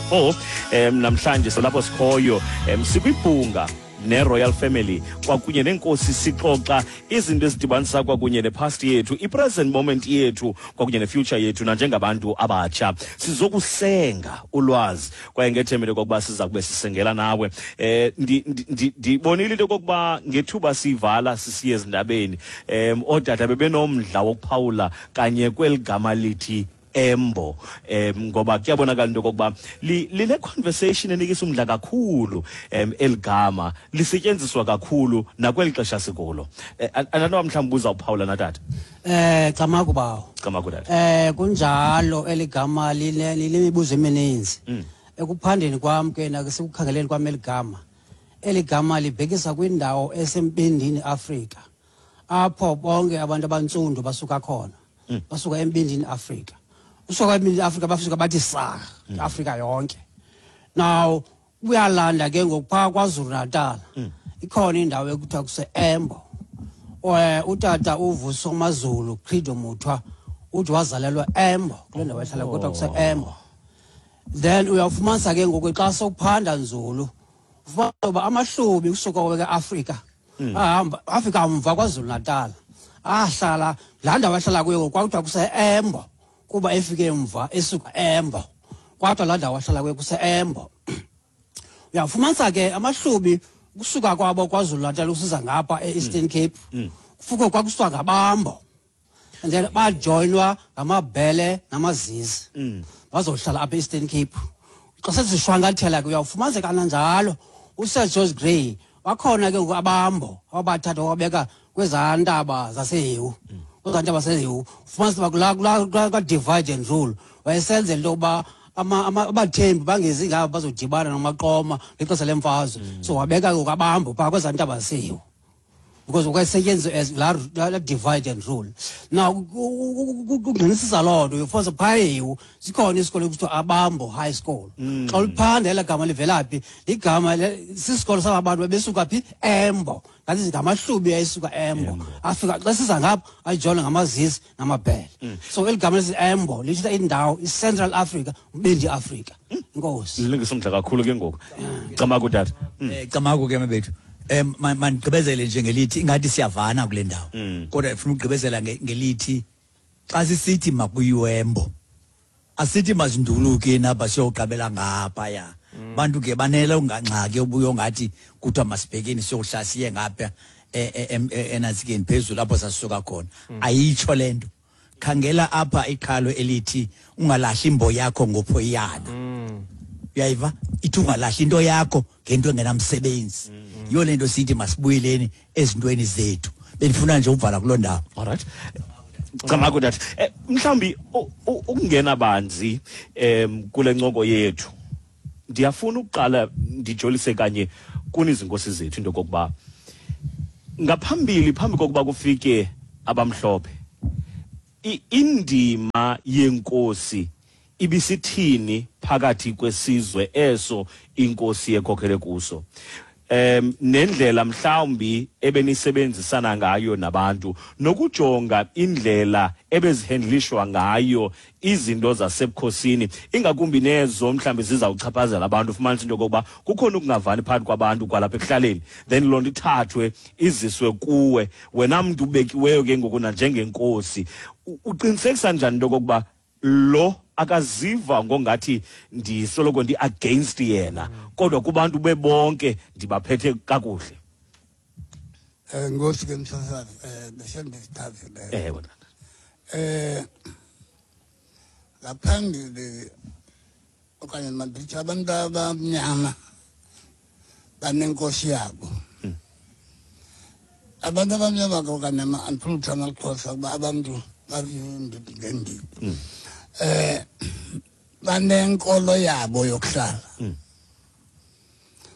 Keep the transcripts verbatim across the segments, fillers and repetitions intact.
four. um namhlanje silapho sikhoyo, um sikwibhunga ne-royal family kwakunye nenkosi, sixoxa izinto ezidibanisa kwakunye ne-past yethu, i-present moment yethu kwakunye ne-future yethu. Nanjengabantu abatsha sizokusenga ulwazi, kwaye ngethemba kokuba siza kube sisengela nawe. eh ndibonile into kokuba ngethuba sivala sisiye ezindabeni, um ootata bebenomdla wokuphawula kanye kweli gama lithi Embo, em ngoba kuyabonakala into kokuba line conversation enikisa umdla kakhulu. em eligama lisetyenziswa kakhulu nakweli xesha sikulo. Andanoba mhlawumbi uzawuphawula na, tata. Eh camagu bawo. Camagu, tata. Eh kunjalo, eligama line linemibuzo emininzi. Ekuphandeni kwam ke nasekukhangeleni kwam eligama. Eligama libhekisa kwindawo esembindini Afrika, apho bonke abantu abantsundu basuka khona. Basuka embindini Afrika. Usuka embindini Afrika bafika bathi sa Afrika yonke. Now uyalanda ke ngokupha kwaZulu Natal. Ikhona indawo ekuthiwa kuse Embo. Eh utata uVuso Mazulu Credo Mutwa uthi wazalelwa Embo, kule ndawo ehlala kodwa kuse Embo. Then uyafumanisa ke ngoku xa sowuphanda nzulu, ufumana uba amaHlubi kusuka kwe-Afrika ahamba afika mva kwaZulu Natal, ahlala laa ndawo ahlala kuyo kwakuthiwa kuse Embo, kuba efike mva esuka Embo, kwathiwa laa ndawo ahlala kuyo kuse Embo. Uyafumanisa ke amaHlubi kusuka kwabo kwaZulu Natal usiza ngapha e-Eastern Cape, kufuke kwakusuka ngabambo, and then bajoyinwa ngamabhele namazizi, bazohlala apha e-Eastern Cape. Xa sezishwankathela ke, uyawufumanisa kananjalo uSir George Grey wakhona ke ngoku, abambo ababathatha wabeka kwezaa ntaba zaseHewu. Kwezaa ntaba zaseHewu ufumanisa uba kulaa kulaa kulaa ka-divide and rule, wayesenzela into yokuba ama- ama- abathembu bangezi ngapha bazodibana namaqoma ngexesha lemfazwe. So wabeka ke ngoku abambo phaa kwezaa ntaba zaseHewu because kwasetyenziswa as laa laa divide and rule. Now kungqinisisa loo nto, uyofumanisa phaa eHewu sikhona isikolo ekuthiwa Abambo High School. Xa uliphanda elaa gama livela phi, ligama le- sisikolo saba bantu bebesuka phi? Embo. Ngathi ngamaHlubi ayesuka Embo, afika xa siza ngapha ayijoyina ngamazisi namabhele. So eli gama lesi Embo lithetha indawo i-Central Africa, umbindi Afrika. Inkosi. Lilungisa umdla kakhulu ke ngoku. Camagu, tata. Eh camagu ke mabethu. Em ma- mandigqibezele nje ngelithi ingathi siyavana kule ndawo. Kodwa ndifuna ukugqibezela nge- ngelithi xa sisithi makuyiwe Embo, asithi mazinduluke napha siyoqabela ngaphaya. Bantu ke banele ungangxaki obuyo ngathi kuthiwa masibhekeni siyohlala siye ngapha e- e- em- e- enantsikeni phezulu apho sasisuka khona. Ayitsho le nto. Khangela apha iqhalo elithi ungalahli imbo yakho ngophoyiyana. Uyayiva? Ithi ungalahli into yakho ngento engenamsebenzi. Yiyo le nto sithi masibuyeleni ezintweni zethu. Bendifuna nje uvala kuloo ndawo. Alright, camagu, tata. eh, mhlawumbi u- u- ukungena banzi em kule ncoko yethu, ndiyafuna ukuqala ndijolise kanye kuni izinkosi zethu into kokuba ngaphambili, phambi kokuba kufike abamhlophe, i- indima yenkosi ibisithini phakathi kwesizwe eso inkosi ekhokhele kuso, em nendlela mhlawumbi ebenisebenzisana ngayo nabantu, nokujonga indlela ebezihandlishwa ngayo izinto zasebukhosini, ingakumbi nezo mhlawumbi zizawuchaphazela abantu. Ufumanisa into yokokuba kukhona ukungavani phakathi kwabantu kwalapha ekuhlaleni, then loo nto ithathwe iziswe kuwe wena mntu ubekiweyo ke ngoku nanjengenkosi. U- uqinisekisa njani into yokokuba lo akaziva ngongathi ndisoloko ndi-against yena, kodwa kubantu bebonke ndibaphethe kakuhle? Eh Nkosi ke msasazi, eh bese ndisithathile. Ewe, tata. Eh ngaphambili okanye mandithi abantu abamnyama banenkosi yabo. Abantu abamnyama ke okanye andifuni ukuthi amaXhosa kuba abantu bazindidi ngeendidi. Eh banenkolo yabo yokuhlala.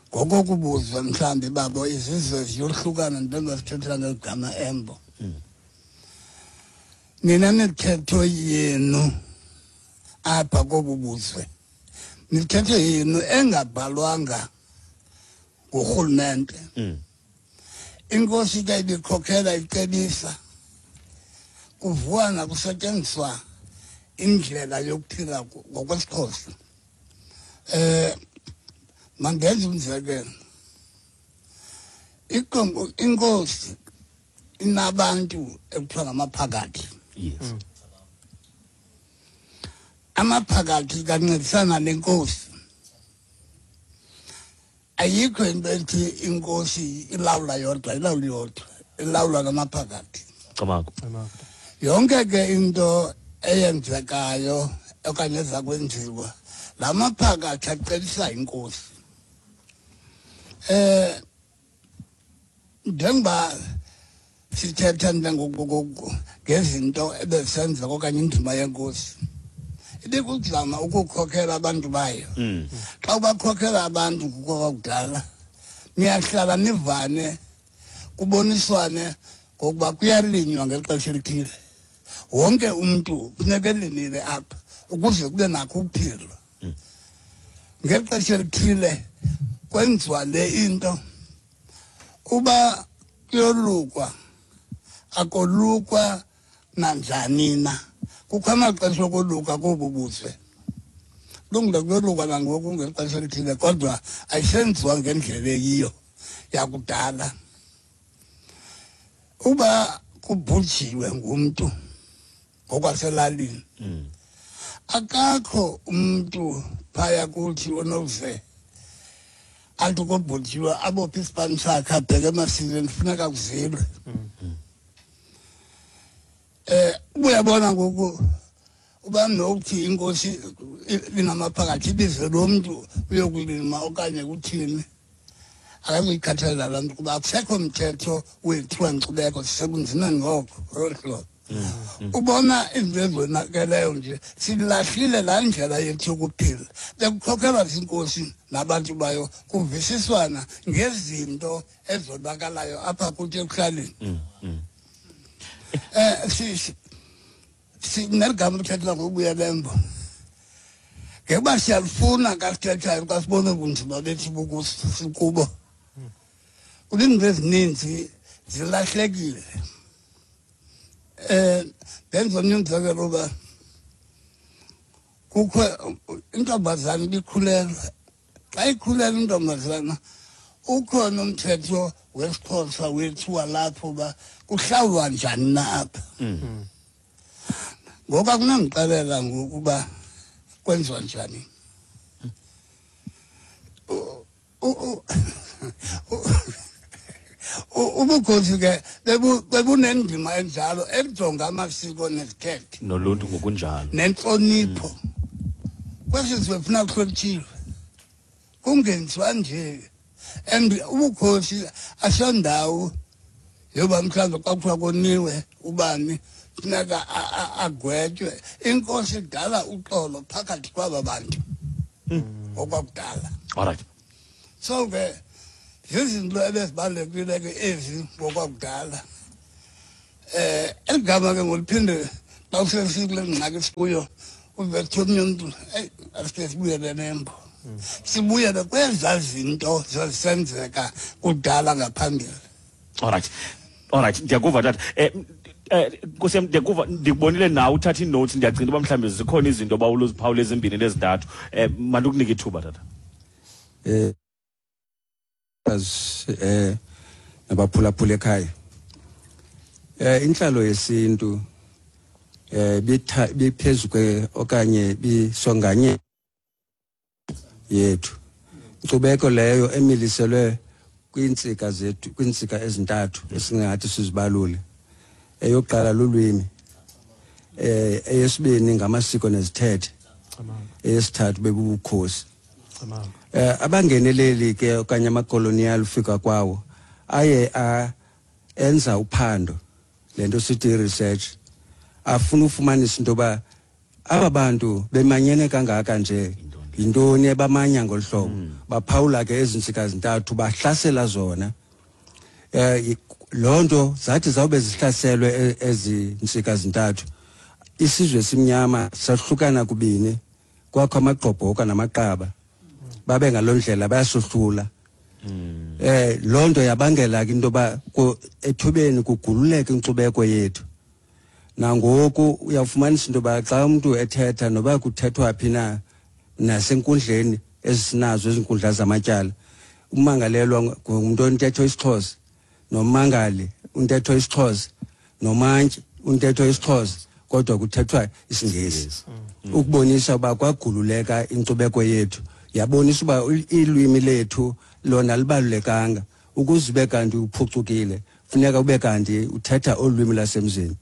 Ngokokubuzwa mhlawumbi babo izizwe ziyohlukana njengoba sithetha ngegama Embo. Nina mithetho yenu apha kobu buzwe, mithetho yenu engabhalwanga ngurhulumente. Inkosi ke ibikhokhela, icebisa, kuvuana kusetyenziswa indlela yokuphila ngokwesiXhosa. Eh mandenze umzekelo. Ikombo inkosi inabantu ekuthiwa ngamaphakathi. Yes. Amaphakathi kancedisana nenkosi. Ayikho into ethi inkosi ilawula yodwa, ilawula yodwa, ilawula ngamaphakathi. Camagu. Yonke ke into eyenzekayo okanye eza kwenziwa lamaphakathi acelisa inkosi. Eh njengoba sithetha njengoku ngezinto ebesenza okanye indima yenkosi ibikuzama ukukhokhela abantu bayo. Xa ubakhokhela abantu ngokwakudala niyahlala nivane kuboniswane ngokuba kuyalinywa ngexesha elithile. Wonke umntu kufuneka elimile apha ukuze kube nakho ukuphila. Ngexesha elithile kwenziwa le into uba kuyolukwa akolukwa nanjani na. Kukho amaxesha okoluka kobu buzwe. Kulungile kuyolukwa nangoku ngexesha elithile kodwa ayisenziwa ngendlela eyiyo yakudala. Uba kubhujiwe ngumntu ngokwaselalini akakho umntu phaya kuthi onokuze athi kobhujiwe abophe isipani sakhe abheke emasikweni funeka kuzilwe. Eh uyabona ngoku uba nokuthi inkosi inamaphakathi ibize lo mntu uyokulima okanye kuthini akakuyikhathalela laa nto kuba akusekho mthetho wethu wenkcubeko sisebunzimeni ngoko ngolu hlobo. Ubona izinto ezonakeleyo nje silahlile laa ndlela yethu yokuphila. Bekukhokhelwa ziinkosi nabantu bayo kuvisiswana ngezinto ezonakalayo apha kuthi ekuhlaleni. Eh si si neligama lithethela ngokubuyela embo. Ngekuba siyalifuna xa sithethayo xa sibone ubunzima bethu bukubo. Kuba izinto ezininzi zilahlekile. Eh ndenza omnye umzekelo uba kukho intombazana ibikhulelwe. Xa ikhulelwe intombazana ukhona umthetho wesiXhosa wethu walapho uba kuhlawulwa njani na apha. Ngoku akunandixelela ngokuba kwenziwa njani. Ubukhosi ke bebunendima enjalo ekujonga amasiko nezithethe noluntu ngokunjalo nentlonipho. Kwesi sizwe funa kuhlonitshiwe kungenziwa nje. And ubukhosi asiyondawo yoba mhlawumbe xa kuthiwa koniwe ubani funeka agwetywe. Inkosi idala uxolo phakathi kwaba bantu okwakudala. All right. So ke zizinto ebezibalulekile ke ezi ngokwakudala. Eh eligama ke ngoliphinde xa usesikule ngxaki sikuyo uve kuthiwa omnye umntu eyi asike sibuyele nembo. Sibuyele kwezaa zinto zazisenzeka kudala ngaphambili. All right. All right, ndiyakuva tata. Eh eh Nkosi yam ndiyakuva ndikubonile nawe uthatha ii-notes ndiyacinga uba mhlawumbi zikhona izinto oba uziphawula ezimbini nezintathu. Eh mandikunika ithuba tata. Eh as eh nabaphulaphula ekhaya. Eh inhlalo yesintu eh biphezulu kwe okanye bisonganye yethu. Inkcubeko leyo emiliselwe kwiintsika zethu, kwiintsika ezintathu esingathi sizibalule. Eyokuqala lulwimi, eh eyesibini ngamasiko nezithethe, eyesithathu bebubukhosi. Eh abangeneleli ke okanye amakolonial ufika kwawo aye a enza uphando lento sithi research afuna ufumanisa into ba aba bantu bemanyene kangaka nje yintoni ebamanya ngolhlobo. Baphawula ke ezintsika zintathu bahlasela zona. Eh lonto zathi zawube zihlaselwe ezintsika zintathu isizwe simnyama sahlukana kubini kwakho amagqobhoka namaqaba babe ngalondlela bayasohlula. Eh lonto yabangela ke into ba ethubeni kugululeke inkcubeko yethu. Nangoku uyafumanisa into ba xa umuntu ethetha noba kuthethwa phi na nasenkundleni ezisinazo ezinkundla zamatyala, umangalelwa ngumuntu ontetho isiXhosa, nomangali untetho isiXhosa, nomantyi untetho isiXhosa, kodwa kuthethwa isiNgesi. Ukubonisa uba kwagululeka inkcubeko yethu, yabonisa uba ilwimi lethu lona libalulekanga. Ukuze ube kanti uphucukile funeka ube kanti uthetha olwimi lasemzini.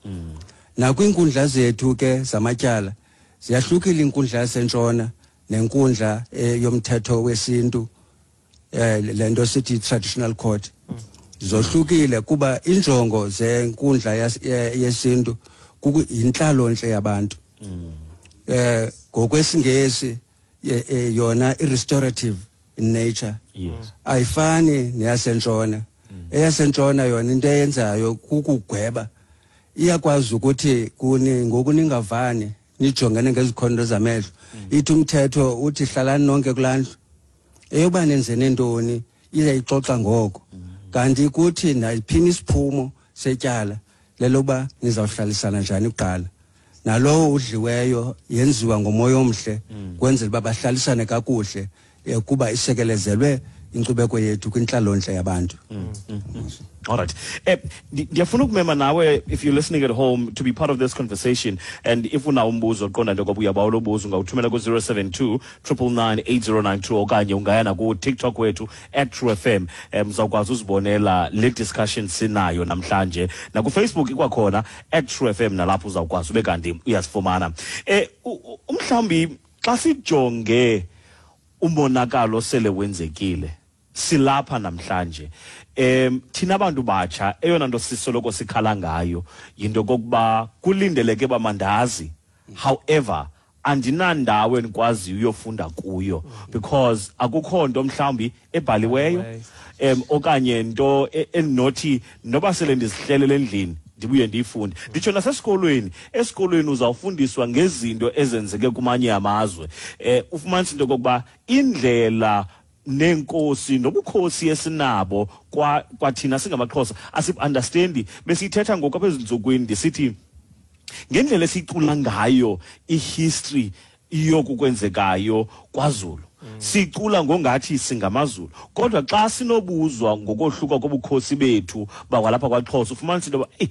Nakwiinkundla zethu ke zamatyala ziyahlukile, inkundla yasentshona nenkundla yomthetho wesintu, eh lento sithi traditional court, zohlukile kuba injongo zenkundla yesintu kukuyinhlalonhle yabantu. Eh ngokwesingesi yona i-restorative in nature. Yes. Ayifani neyasentshona. Eyasentshona yona into eyenzayo kukugweba. Iyakwazi ukuthi kuni ngoku ningavani nijongene ngezikhondo zamehlo. Ithi umthetho uthi hlalani nonke kulandlu. Eyoba nenzene ntoni iyayixoxa ngoko. Kanti kuthi nayiphini isiphumo setyala leloba nizawuhlalisana njani kuqala. Nalowo udliweyo yenziwa ngomoya omhle kwenzela uba bahlalisane kakuhle kuba isekelezelwe inkcubeko yethu kwintlalonhle yabantu. Mm, mm, mm. All right. Eh, ndiyafuna ukumema nawe, if you're listening at home, to be part of this conversation. And if unawo umbuzo qonda nje ngoba uyabawula ubuzo, ungawuthumela ku zero seven two, triple nine, eight zero nine two okanye ungaya naku TikTok wethu at True F M. Eh, uzawukwazi uzibonela le discussion sinayo namhlanje. Naku Facebook ikwakhona at True F M, nalapho uzawukwazi ube kanti uyasifumana. Eh, umhlawumbi xa sijonge umonakalo sele wenzekile silapha namhlanje, em thina abantu batsha eyona nto sisoloko sikhala ngayo yinto kokuba kulindeleke bamandazi, however andinandawo enikwaziyo uyofunda kuyo because akukho nto mhlawumbi ebhaliweyo em okanye nto endinothi noba sele ndizihlelele endlini ndibuye ndiyifunde. Nditsho nasesikolweni, esikolweni uzawufundiswa ngezinto ezenzeke kumanye amazwe. Eh ufumanisa into kokuba indlela nenkosi nobukhosi esinabo kwa kwathina singamaXhosa asiunderstandi. Besithetha ngoku apha ezintsukwini ndisithi ngendlela esicula ngayo ihistory yokukwenzekayo kwaZulu, sicula ngongathi singamaZulu, kodwa xa sinobuzwa ngokohluka kobukhosi bethu bakwalapha kwaXhosa ufumanisa into yoba eh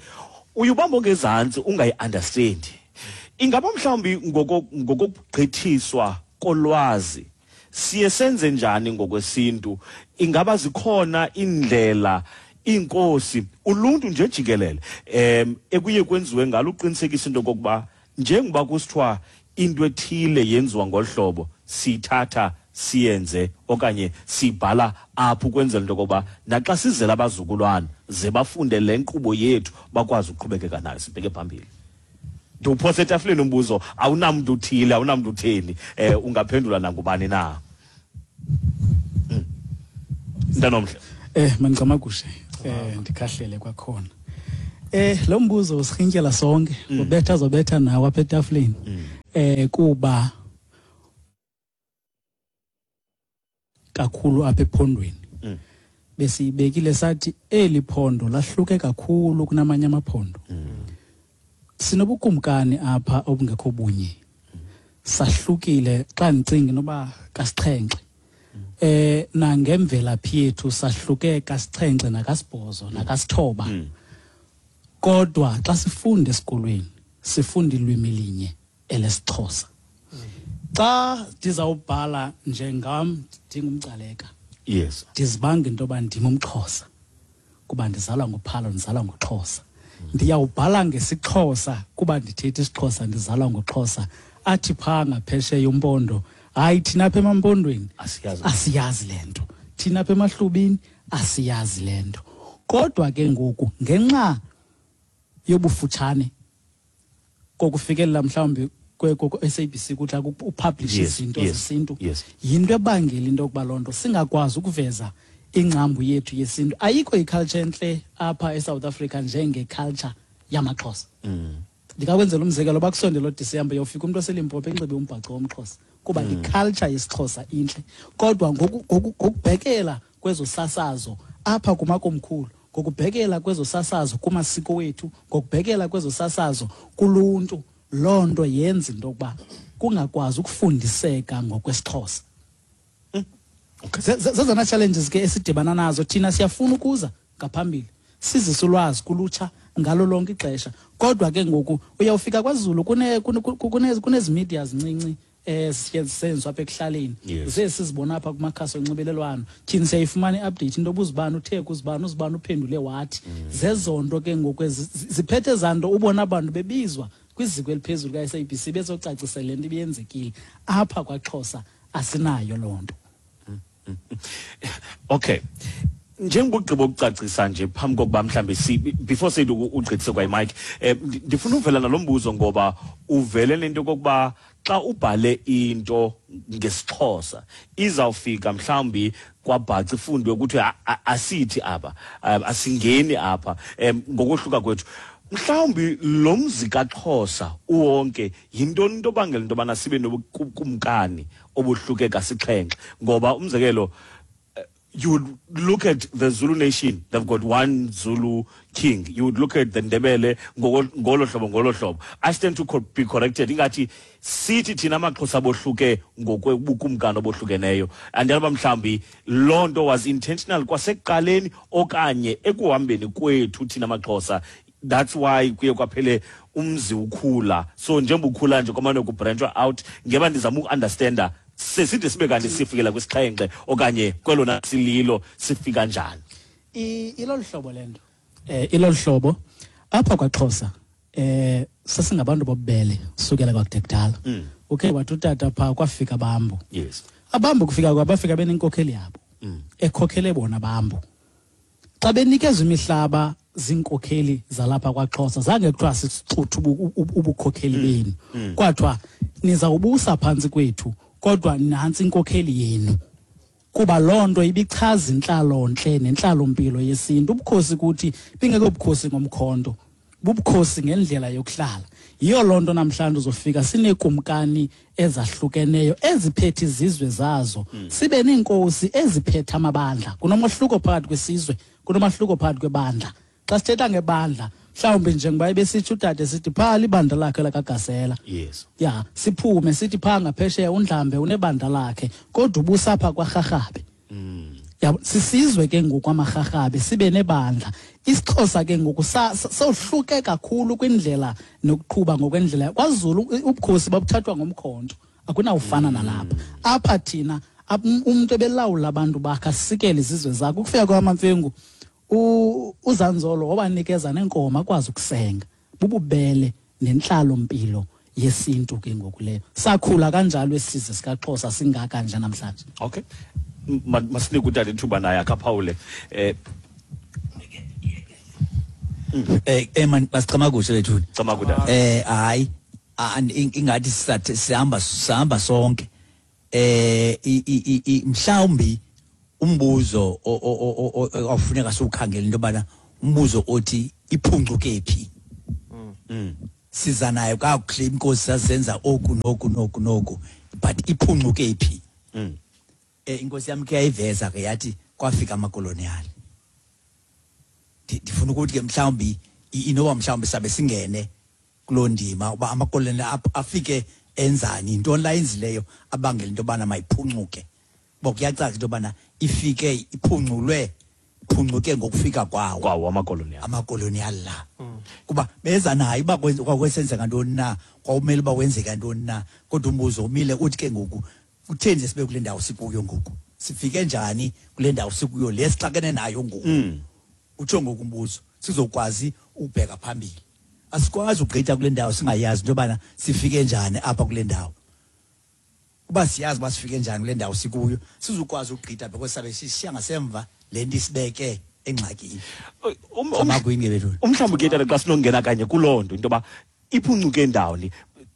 uyubamba ngezantsi ungayiunderstandi. Ingaba mhlawumbi ngokugqithiswa kolwazi siye senze njani ngokwesintu? Ingaba zikhona indlela inkosi uluntu nje jikelele em ekuye kwenziwe ngalo uqinisekisa into kokuba njengoba kusithiwa into ethile yenziwa ngolhlobo sithatha siyenze okanye sibhala apho ukwenzela into kokuba naxa sizela abazukulwana ze bafunde le nkqubo yethu bakwazi ukuqhubekeka nayo sibheke phambili. Ndiwuphose etafileni umbuzo, awunamntu uthile, awunamntu utheni, eh ungaphendula nangubani na? Ntanomhle. Eh mancamagushe, eh ndikhahlele kwakhona. Eh lo mbuzo usirhintyela sonke, ubetha zobetha nawe apha etafileni. Eh kuba kakhulu apha ephondweni. Besibekile sathi eli phondo lahluke kakhulu kunamanye amaphondo. Sinobukumkani apha obungekho bunye. Sahlukile xa ndicinga noba kasixhenxe. Eh nangemvelaphi yethu sahluke kasixhenxe nakasibhozo nakasithoba. Kodwa xa sifunda esikolweni sifunda ilwimi linye elesiXhosa. Xa ndizawubhala njengam ndingumcaleka. Yes. Ndizibanga into yoba ndim umXhosa kuba ndizalwa nguPhalo, ndizalwa nguXhosa. Ndiyawubhala ngesiXhosa kuba ndithetha isiXhosa, ndizalwa nguXhosa. Athi phaa ngaphesheya umpondo, hayi thina apha emampondweni asiyazi, asiyazi le nto, thina apha emahlubini asiyazi le nto. Kodwa ke ngoku ngenxa yobufutshane kokufikelela mhlawumbi kwe-S A B C kuthi upublish izinto zesintu, yinto ebangela into yokuba loo nto singakwazi ukuveza ingcambu yethu yesintu. Ayikho iculture entle apha eSouth Africa njengeculture yamaXhosa. Ndingakwenzela umzekelo, bakusondela uDisemba yofika umuntu oseLimpopo enxibe umbhaco womXhosa kuba iculture yesiXhosa intle. Kodwa ngokubhekela kwezosasazo apha kumakomkhulu, ngokubhekela kwezosasazo kumasiko wethu, ngokubhekela kwezosasazo kuluntu, loo nto yenza into yokuba kungakwazi ukufundiseka ngokwesiXhosa. Zezona challenges ke esidibana nazo. Thina siyafuna ukuza ngaphambili, sizise ulwazi kulutsha ngalo lonke ixesha, kodwa ke ngoku uyawufika kwaZulu kune kune kunezi media zincinci esenzwa apha ekuhlaleni, zesizibona apha kumakhasi onxibelelwano. Thina siyayifumana i-update into obuzibani uthe kuzibani uzibani uphendule wathi. Zezonto ke ngoku ziphethe zanto ubona abantu bebizwa kwiziko eliphezulu ka-S A B C bezocacisela le nto ibiyenzekile. Apha kwaXhosa asinayo loo nto. Okay, njengobugqibo ukucacisa nje phambi kokuba mhlambe si before sithi ugqithise kwa mic, eh ndifuna uvela nalombuzo ngoba uvele lento kokuba xa ubhale into ngesiXhosa izawufika mhlambi kwabhaca ifundwe ukuthi asithi apha asingeni apha ngokuhluka kwethu. Mhlawumbi lo mzi kaXhosa uwonke yintoni into obangela into yobana sibe nobukumkani obuhluke kasixhenxe? Ngoba umzekelo, you would look at the Zulu nation, they've got one Zulu king. You would look at the Ndebele, ngolo hlobo ngolo hlobo. I stand to be corrected. Ingathi sithi thina amaXhosa bohluke ngokwebukumkani obohlukeneyo. Andiyaba mhlambi loo nto was intentional kwasekuqaleni okanye ekuhambeni kwethu thina amaXhosa. That's why kuye kwaphele umzi ukhula. So njengoba ukhula nje kwamane kubranchwa out, ngeba ndizama ukunderstanda seside sibe kanti sifikela kwisixhenxe okanye kwelona sililo sifika njani. Ilolu hlobo lento, eh ilolu hlobo apha kwaXhosa eh sasingabantu bobubele sukela kwakude kudala. Okay, wathi utata pha kwafika abambo. Yes, abambo kufika kwabafika benenkokheli yabo ekhokhele bona abambo. Xa benikezwe imihlaba zinkokheli zalapha kwaXhosa, zange kuthiwa sicuthe ubukhokheli benu, kwathiwa nizawubusa phantsi kwethu kodwa nantsi inkokheli yenu, kuba loo nto ibichaza intlalontle nentlalompilo yesintu. Ubukhosi kuthi bingeke ubukhosi ngomkhonto, bubukhosi ngendlela yokuhlala. Yiyo loo nto namhlanje uzofika sineekumkani ezahlukeneyo eziphethe izizwe zazo, sibe neenkosi eziphethe amabandla. Kunomahluko phakathi kwesizwe, kunomahluko phakathi kwebandla. Xa sithetha ngebandla, mhlawumbi njengoba ebesitsho utata sithi phaa libandla lakhe lakaGasela. Yes. Ya, siphume sithi phaa ngaphesheya uNdlambe unebandla lakhe, kodwa ubusapha kwaRharhabe. Mm. Ya, sisizwe ke ngoku amaRharhabe sibe nebandla. IsiXhosa ke ngoku sohluke kakhulu kwindlela nokuqhuba ngokwendlela. KwaZulu ubukhosi babuthathwa ngomkhonto, akunawufana nalapha. Apha thina umuntu ebelawula abantu bakhe asikele izizwe zakhe. Ukufika kwamaMfengu uZanzolo wabanikeza nenkomo akwazi ukusenga. Bububele nentlalo mpilo yesintu ke ngoku leyo. Sakhula kanjalo esizwe sikaXhosa singaka nje namhlanje. Okay. Masinike utata ithuba naye akaphawule. Eh eh eh man basichama kuhle lethu. Chama kuda. Eh hayi ingathi sihamba sihamba sonke. Eh mhlawumbi umbuzo ofuneka siwukhangele into yobana umbuzo othi iphuncuke phi. Siza nayo kakuhle inkosi sazenza oku noku noku noku, but iphuncuke phi. Eh inkosi yami ke yayiveza ke yathi kwafika amakolonial. Ndifuna ukuthi ke mhlawumbi inoba mhlawumbi sabe singene kuloo ndima uba amakolonial afike enzani, intoni la yenzileyo abangela into yobana mayiphuncuke. Bokuyacaca into yobana ifike iphunculwe iphuncuke ngokufika kwawo kwawo amakolonial amakolonial la. Kuba beza nayo uba kwakwesenzeka ntoni na, kwawumele uba kwenzeka ntoni na, kodwa umbuzo umile uthi ke ngoku kutheni nje sibe kule ndawo sikuyo ngoku, sifike njani kule ndawo sikuyo le sixakene nayo ngoku. Utsho ngoku umbuzo sizokwazi ukubheka phambili. Asikwazi ukugqitha kule ndawo singayazi into yobana sifike njani apha kule ndawo. Kuba siyazi uba sifike njani kule ndawo sikuyo, sizokwazi ukugqitha because sabe sishiya ngasemva le nto isibeke engxakini. Umhlawumbi ke tata xa sinongena kanye kuloo nto into yoba iphuncuke ndawoni,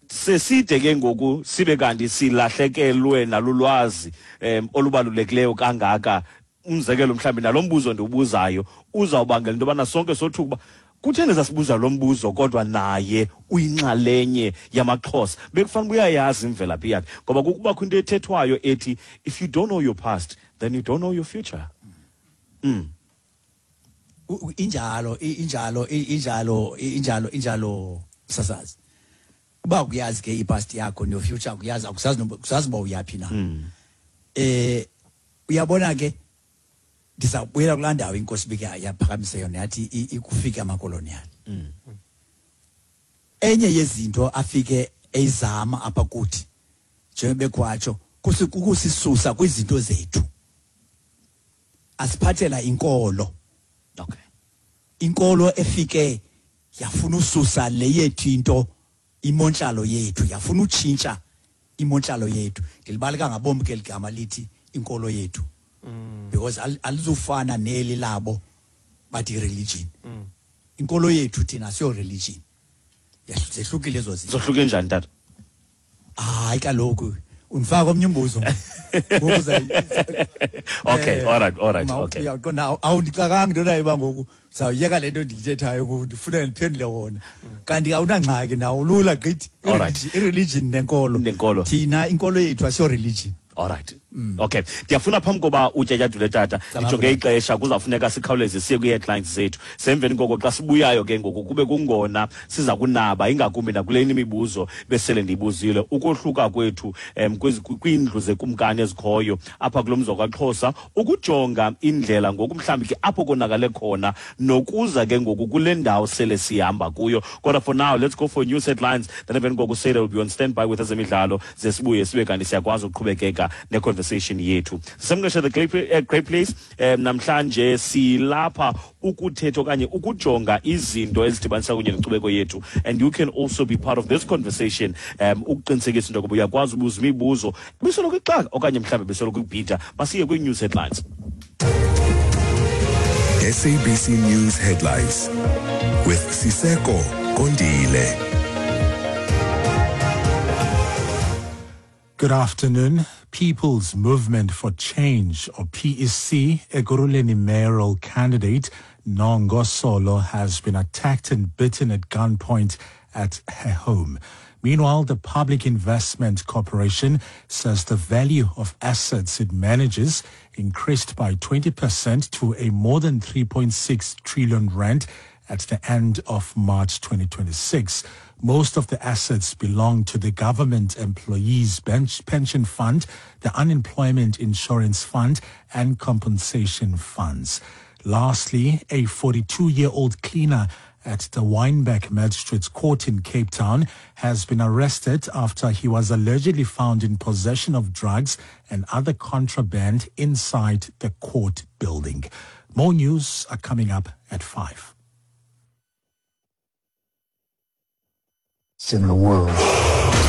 seside ke ngoku sibe kanti silahlekelwe nalulwazi um olubalulekileyo kangaka. Umzekelo mhlawumbi nalo mbuzo ndiwubuzayo uzawubangela into yobana sonke sothuka uba kutheni sasibuza lo mbuzo kodwa naye uyinxalenye yamaXhosa. Bekufanele uyayazi imvelaphi yakhe, ngoba kukubakho into ethethwayo ethi if you don't know your past then you don't know your future. Mm. Injalo injalo injalo injalo injalo sasazi. Uba kuyazi ke ipast yakho no future kuyazi, akusazi kusazi uba uyaphi na. Eh Uyabona ke, ndizawubuyela kulaa ndawo inkosi bike yaphakamisa yona, yathi ikufika amakolonial. Enye yezinto afike eyizama apha kuthi, njengoba bekwatsho, kukusisusa kwizinto zethu, asiphathela inkolo. Okay. Inkolo efike yafuna ususa le yethu into, imontlalo yethu, yafuna utshintsha imontlalo yethu. Ndilibaleka ngabom ke ligama lithi inkolo yethu, because alizufana neli labo bathi religion. Inkolo yethu thina siyo religion. Zehlukile ezo zinto. Zohluke njani tata? Hayi kaloku undifaka omnye umbuzo. Okay, all right, all right, okay. Uyaqonda, awundixakanga into nayo uba ngoku sawuyeka le nto ndiyithethayo ngoku, ndifuna ndiphendule wona. Kanti awunangxaki nawo, lula gqithi. All right. I-religion nenkolo. Nenkolo. Thina inkolo yethu asiyo religion. All right. Okay. Ndiyafuna phambi koba utyatyadule tata, ndijonge ixesha, kuzawufuneka sikhawuleze siye kwii-headlines zethu. Semveni koko xa sibuyayo ke ngoku kube kungona siza kunaba ingakumbi nakule imibuzo besele ndiyibuzile, ukohluka kwethu um kwiindlu zekumkani ezikhoyo apha kulo mzi wakwaXhosa, ukujonga indlela ngoku mhlawumbi ke apho konakale khona nokuza ke ngoku kule ndawo sele sihamba kuyo. Kodwa for now, let's go for news headlines. Then emveni koko Seda will be on standby with ezemidlalo, ze sibuye sibe kanti siyakwazi ukuqhubekeka ne-conversation yethu. Sisemnqeshe the great, great place. Um, namhlanje silapha ukuthetha okanye ukujonga izinto ezidibanisa kunye nenkcubeko yethu, and you can also be part of this conversation, um ukuqinisekisa into yokuba uyakwazi ubuza imibuzo bisoloko ixaka okanye mhlawumbi bisoloko ikubhida. Masiye kwi-news headlines. S A B C News Headlines with Siseko Kondile. Good afternoon. People's Movement for Change, or P E C, Ekurhuleni mayoral candidate Nongo Solo has been attacked and bitten at gunpoint at her home. Meanwhile, the Public Investment Corporation says the value of assets it manages increased by twenty percent to a more than three point six trillion rand at the end of March twenty twenty-six. Most of the assets belong to the Government Employees Bench Pension Fund, the Unemployment Insurance Fund, and compensation funds. Lastly, a forty-two-year-old cleaner at the Wynberg Magistrates Court in Cape Town has been arrested after he was allegedly found in possession of drugs and other contraband inside the court building. More news are coming up at five. In the world.